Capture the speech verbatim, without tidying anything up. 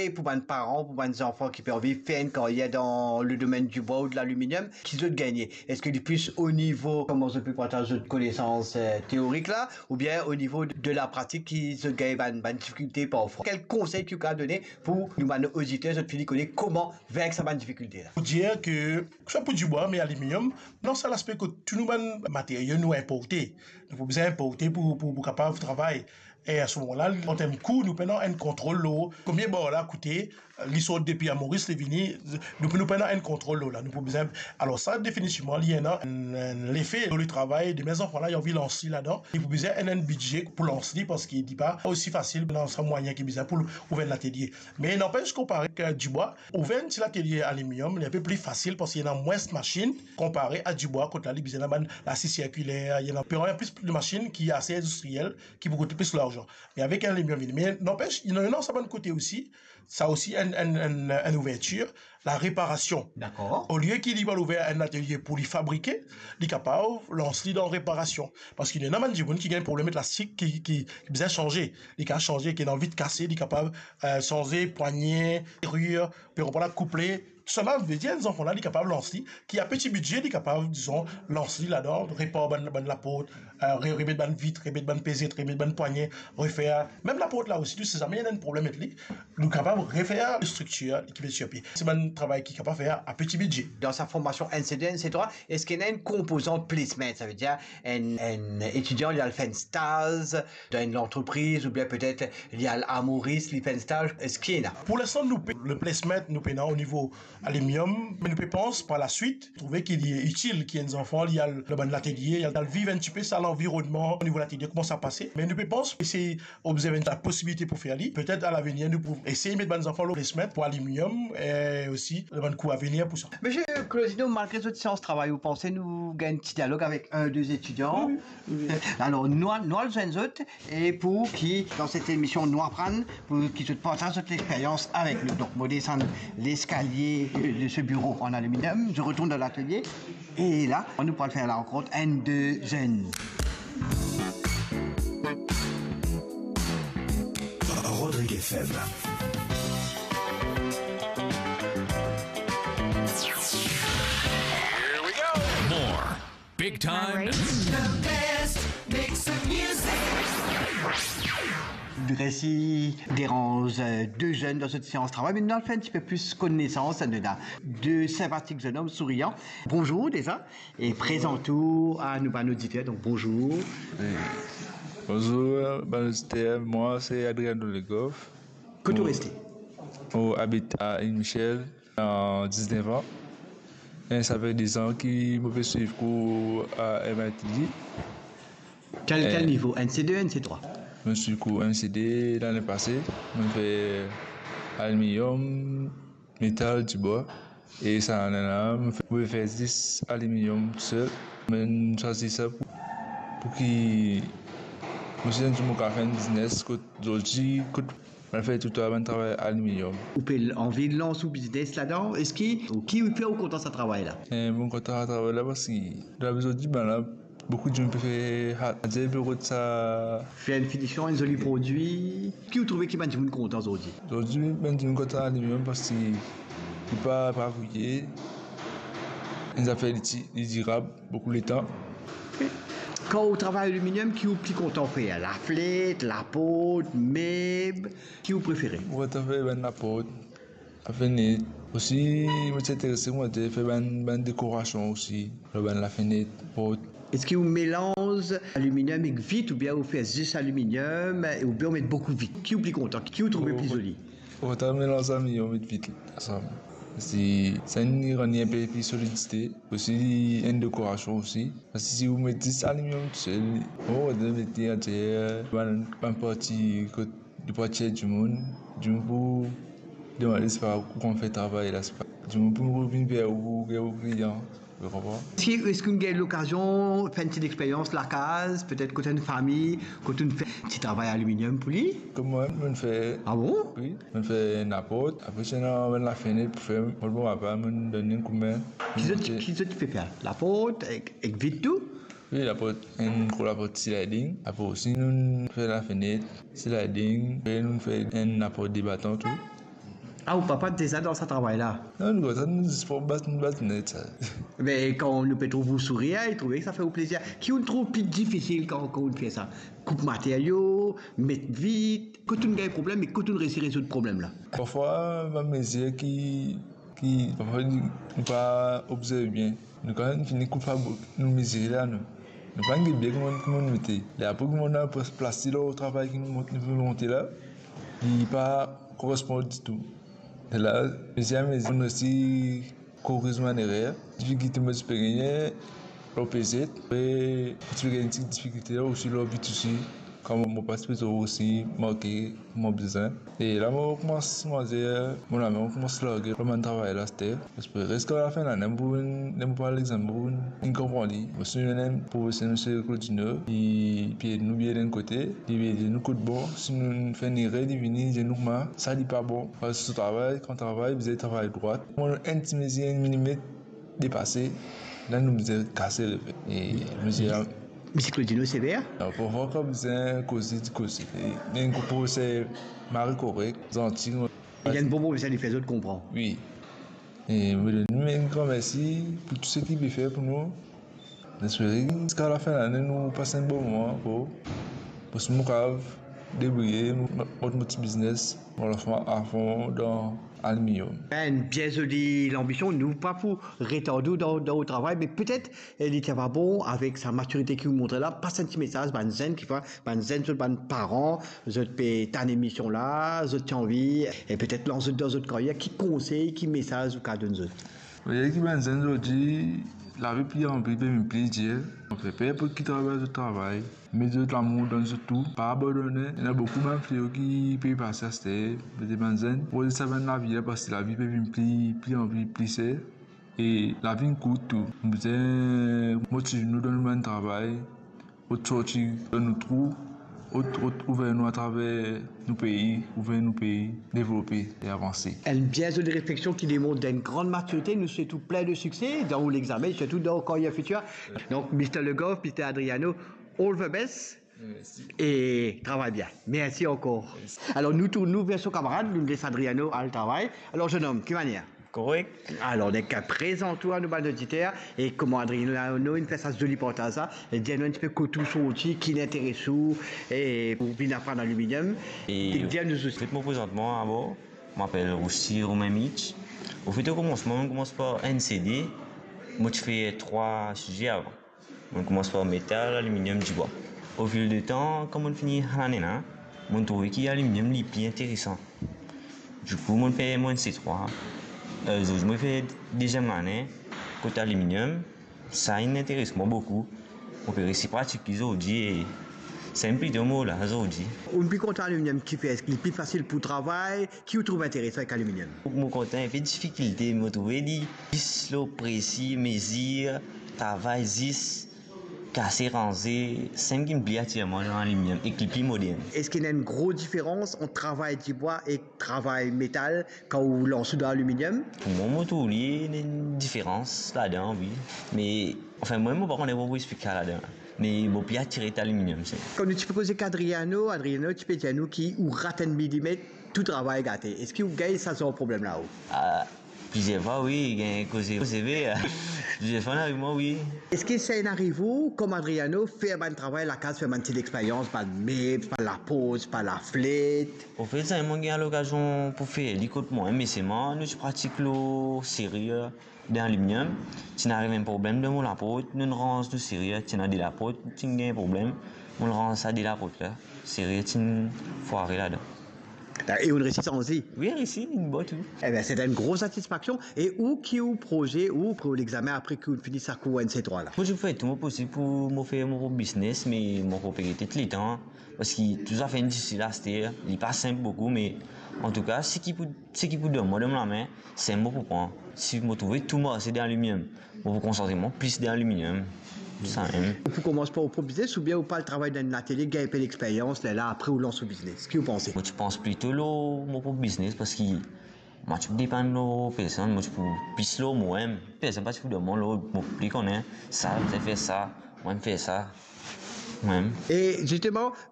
E pou bann paran, pou bann zanfan ki pe anvi fer enn karyer dan le domenn dibwa ou de laliminyom, ki zot gagne? Eski li plis o nivo, kouma zot pe partaz zot konesans, eh, teorik la, oubien o nivo de, de lapratik ki zot gagn bann, bann difikilte parfwa? Kel konsey ki ou kapav done pou nou bann oditer, zot fini kone kouma venk sa bann difikilte la? Pou dir ke, swa pou dibwa, me aliminyom, dan sa laspe kot tou nou bann materio nou inporte. Nou pou bizin inporte pou, pou, pou kapav travay. E a se moman la, an term kou, nou pena enn kontrol lor konbien bar la koute, li sort depi a Moris, li vini, nou, nou pena enn kontrol lor la, nou pou bizin, alor sa, definitivman, li ena enn, enn lefe lor le travay de bann zanfan la, li anvi lans li ladan, li pou bizin enn, enn bidze pou lans li, parski li pa osi fasil dan sa mwayin ki bizin pou ouver enn latelie. Me nanpes, konpare ek dibwa, ouver enn ti latelie aliminyom, li enpe pli fasil, parski ena mwins masinn, konpare a dibwa, kot la, li bizin ena bann lasi sirkiler, li ena plis, plis de masinn ki ase indistriel, ki pou kout plis larzan. Me avek aliminyom vini. Me nanpes, ena, ena sa bann kote osi, sa osi enn, enn, enn, enn ouvertir, lareparasion. Dakor. Olie ki li pou al ouver enn latelie pou li fabrike, li kapav lans li dan reparasion. Parski ena bann dimoun ki gagn problem met lastik ki, ki, ki bizin sanze. Li kapav sanze, ki ena vit kase, li kapav, eh, sanze pwagne, serir, pe repar la kouple, Tousala, vedir enn zanfan la, li kapav lans li, ki a peti bidze, li kapav, dizon, lans li ladan, repar bann, bann laport, eh, re-, remet bann vit, remet bann pezet, remet bann pwagne, refer. Mem laport la osi, nou sezame ena enn problem met li, nou kapav refer striktir ki pe tir pie. Se bann travay ki kapav fer a peti bidze. Dan sa formasion N C deux, N C trois, eski ena enn konpozan placement, savedir enn, enn etidian li al fer enn staz dan enn lantrepriz, oubien petet li al a Moris, li fer enn staz, eski ena? Pou linstan, nou pe, le placement, nou pena o nivo aliminyom, me nou pe pans par laswit, trouve ki li itil ki enn zanfan, li al dan bann latelie, li al viv enn tipe sa lanvironnman o nivo latelie, kouma sa pase. Me nou pe pans, esey obzerve enn posibilite pou fer li. Petet a lavenir, nou pou esey met bann zanfan lor placement pou aliminyom, e osi dan bann kou avenir pou sa. Misie Claudino, malgre zot seans travay, ou panse nou gagn ti dialog avek enn, de etidian? Wi, wi. Alor, nou al, nou al zwenn zot, e pou ki, dan set emision, nou aprann, pou ki zot partaz zot lexperyans avek nou. Donk, mo desann leskalie, euh, de se biro an aliminyom, je retourne dans l'atelier, e la, nou pou al fer lankont enn de zenn. Rodrigue F M. Here we go. More. Big time. The best mix of music. Li resi deranz, euh, de zenn dan set seans travay, me nou al fer enn tipe plis konesans, nou ena de sinpatik zenn om sourian. Bonzour deza, e prezant ou a nou bann oditer, donk bonzour. Bonzour, bann oditer, mwa se Adriano Legoff. Kot ou reste? Mo abit a Ile Michel. An diznef an. E sa fer dezan ki mo pe swiv kour a M I T G. Kel, kel nivo? N C deux, N C trois? Mo swiv kour N C deux lane pase. Mo fer aliminyom, metal, dibwa. E sa lane la, mo fer, mo fer zis aliminyom tousel. Mo swazir sa pou, pou ki mo si enn zour mo kapav fer enn biznes kot zordi, kot Mo fer tou bann travay aliminyom. Ou pe anvi lans ou biznes ladan? Eski, ki fer ou kontan sa travay la? Eh, mo kontan sa travay la parski dan lavi zordi, bann la, boukou dimoun pe fer, adir pe rod sa. Fer enn finision, enn zoli prodwi. Ki ou trouve ki bann dimoun kontan zordi? Zordi, bann dimoun kontan aliminyom parski li pa, pa grouye. Enn zafer li ti, li dirab. Boukou letan. Kan ou travay aliminyom, ki ou pli kontan fer? Lafnet, laport, meb, ki ou prefere? Mo kontan fer bann laport, lafnet. Osi, mo ti interese, mo ti fer bann, bann dekorasion osi, lor bann lafnet, port. Eski ou melanz aliminyom ek vit oubien ou fer zis aliminyom oubien ou met boukou vit? Ki ou pli kontan? Ki ou trouve pli zoli? Mo kontan melanz aliminyom ek vit ansam. Si sa inn rann li enpe pli solidite, osi enn dekorasion osi. Parski si ou met zis aliminyom tousel, oh, ou met li antier, bann, bann parti kot li pou atir dimoun, dimoun pou demande, sepa, kouma fer travay la, sepa, dimoun pou vinn ver ou, ver ou klian. Ou konpran? Eski, eski ou gagn lokazion fer enn ti lexperyans lakaz, petet kot enn fami, kot ou fer ti travay aliminyom pou li? Kom mwa, mo fer. Ah bon? Wi, mo fer laport, apre si ena bann lafnet pou fer, mo, mo apa, mo donn enn koudme. Ki zot, ki zot pe fer? Laport ek, ek vit tou? Wi, laport, enn gro laport sliding, apre osi nou fer lafnet sliding, apre nou fer enn laport debaton tou. Ah, ou papa deza dan sa travay la? Non, nou kontan, nou zis pou bat, nou bat net sa. Me kan nou pe trouv ou sourir, e trouve ki sa fer ou plezir. Ki ou trouv pli difisil kan, kan ou fer sa? Koup materio, met vit, kot ou gagn problem e kot ou resi rezoud problem la? Parfwa, bann mezir ki, ki, parfwa, nou, nou pa obzerve bien. Nou kan fini koup fabrik, nou mezire la, nou. Nou pa gete bien kouma, kouma nou mete. E apre, kouma nou plas, plas li lor travay ki nou mont-, nou pe monte la, li pa korespon ditou. E la, mezir, mezir, nou osi koriz bann erer. Difikilte mo ti pe gagne, lor P Z, e mo ti pe gagn ti difikilte la osi lor vit osi. Kan mo, mo pa ti pe trouv osi marke mo bizin. E la mo koumans, koumans, mo lame, mo koumans large lor bann travay la aster. Parski ziska lafin lane, mo pou vinn, mo pou al lexame, mo pou vinn konpran li. Mo si nou ena enn profeser, misie Claudino, li pe ed nou bien de enn kote, li pe ed nou kot bon. Si nou fer enn erer, li vini dir nou kouma sa li pa bon. Parski so travay, kan travay, bizin travay drwat. Mo enn ti mezir, enn milimet, depase, la nou bizin kase, refet. E nou bizin... Misie Claudino sever? Parfwa kan bizin koze, li koze. E, me enn profeser mari korek, zanti. Li enn bon profeser, li fer zot konpran. Wi. E mo donn li enn gran mersi pou tou seki li pe fer pou nou. Mo espere ziska lafin lane nou pas enn bon moman ankor. Parski mo kav debrouye, mo, mo, mo ti biznes, mo lans mwa afon dan aliminyom. Enn bien zoli lanbision, nou pa pou retard ou dan, dan ou travay, me petet, e, li ti ava bon, avek sa matirite ki ou montre la, pas enn ti mesaz bann zenn ki fer, bann zenn, zot bann paran, zot pe tann emision la, zot ti anvi, e petet lans zot dan zot karyer, ki konsey, ki mesaz ou kav donn zot? Mo dir ki bann zenn zordi, lavi pli anpli pe vinn pli dir. Donk, pe inport ki travay zot travay, met zot lamour dan zot tou, pa abandone. Ena boukou bann fleo ki pe pase aster, be bann zenn, mo dir sa bann lavi la, parski lavi pe vinn pli, pli anpli pli ser. E lavi inn kourt tou. Nou bizin motiv nou dan nou bann travay, ot sorti dan nou trou, ot, ot ouver nou atraver nou pei, ouver nou pei, devlope e avanse. Enn bien zoli refleksion ki demont enn gran matirite. Nou swet ou plin de sikse dan ou lexame, sirtou dan ou karyer fitir. Donk, mister Le Goff, mister Adriano, all the best. Mersi. E travay bien. Mersi ankor. Mersi. Alor, nou tourn, nou retourn ver so kamarad, nou les Adriano al travay. Alor, zenom, ki manier? Korek. Alor, donk, prezant ou a nou bann oditer, e kouma Adriano inn fer sa zoli partaz la, e dir nou enn tipe kot ou sorti, ki inn interes ou, e pou vinn aprann aliminyom. E dir nou zis. Anfet, mo prezant mwa dabor, mo apel Roussy Romain Mitch. Anfet, o komansman, mo koumans par enn C D, mo ti fer trwa size avan. Mo koumans par metal, aliminyom, dibwa. Au fil de tan, kan mo fini sa lane la, mo trouve ki aliminyom li pli interesan. Dikou, mo fer mo enn C trwa. Eh, zordi mo fer deziem lane kot aliminyom. Sa inn interes mwa boukou. Mo pe resi pratik li zordi e sa inn plito mo la zordi. Ou pli kontan aliminyom kifer? Eski li pli fasil pou travay? Ki ou trouv interesan avek aliminyom? Mo kontan enpe difikilte, mo trouve li plis lor presi, mezir, travay zis, kase, ranze, sa ki pli atir mwa dan aliminyom, ek li pli modern. Eski ena enn gro diferans ant travay dibwa ek travay metal kan ou lans ou dan aliminyom? Pou mwa, mo trouv li ena enn diferans ladan, wi. Me, anfin, mwa, mo pa kone pou explik sa ladan. Me mo pli atire par aliminyom, se. Kan nou ti pe koze ek Adriano, Adriano ti pe dir nou ki ou rat enn milimet, tou travay gate. Eski ou gagn sa zar problem la, ou? Ah, plizier fwa, wi, gagn koze, koze ve, plizier fwa inn ariv mwa, wi. Eski sa inn ariv ou, kom Adriano, fer bann travay lakaz, fer bann ti lexperyans, bann meb, bann lapoz, bann laflet? Anfet, sa, mo gagn lokazion pou fer li kot mwa, me selman, nou ti pratik lor seri, dan aliminyom, ti inn ariv enn problem dan mo laport, nou ranz nou seri, ti ena de laport, ti gagn problem, mo ranz sa de laport la, seri ti fware ladan. E ou resi sanz li? Wi, resi, inn bon tou. Ebien, se enn gro satisfaksion. E ou ki ou proze, ou pou lexame apre ki ou fini sa kour enn C trwa la? Mo ti pou fer tou mo posib pou mo fer mo prop biznes, me mo pa pe gete letan, parski tou zafer inn difisil aster, li pa sinp boukou, me antouka, seki pou, seki pou donn mwa dan mo lame, se mo pou pran. Si mo trouve tou marse dan aliminyom, mo pou konsantre mwa plis dan aliminyom. Samem. Ou pou koumans par ou prop biznes oubien ou pou al travay dan enn latelie, gagn enpe lexperyans, lerla apre ou lans ou biznes? Ki ou panse? Mo ti pans plito lor mo prop biznes, parski mo ti pou depann lor personn, mo ti pou plis lor mwa mem. Personn pa ti pou donn mwa lord, mo pli kone sa, fer sa, mwa fer sa, mwa mem. E zisteman,